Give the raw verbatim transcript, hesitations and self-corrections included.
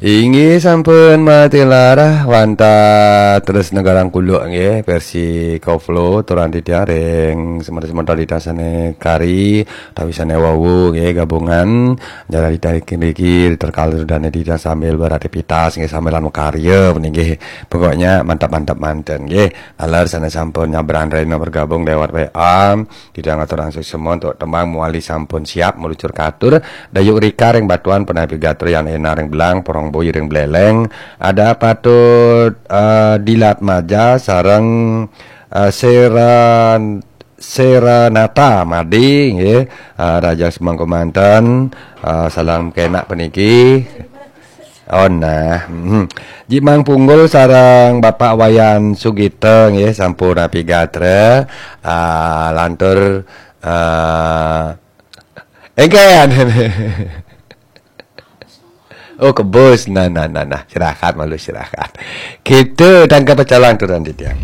Inggih sampun matilar wantah terus negarang kuluk nggih, versi koplo turang titiang ring semeton-semeton titiang sane kari utawi sane wau nggih gabungan. Jalan titiang niki terkala dane titiang sambil beraktivitas nggih, sambilan makarya nggih. Pokoknya mantap-mantap manten nggih. Taler sane sampun nyabran rena bergabung lewat W A. Titiang aturang suksma untuk tembang mawali sampun siap meluncur katur. Dayuk Rika ring Batuan, Penapi Gatra Yan Ena ring Belang, Porong Boyi ring Beleleng. Ada Patut eh, Dilat Maja sareng eh, Seran Seranata Madi nggih. Eh, Raja Semangku manten. Eh, salam kenak peniki. Oh nah, mhm. Jimang Punggul sareng Bapak Wayan Sugita nggih, sampun napi gatra. Ah, lantur ah, engken. Oh, kebus. Nah, nah, nah, nah. Istirahat malu, istirahat. Kita tangkap pecalang turun titiang.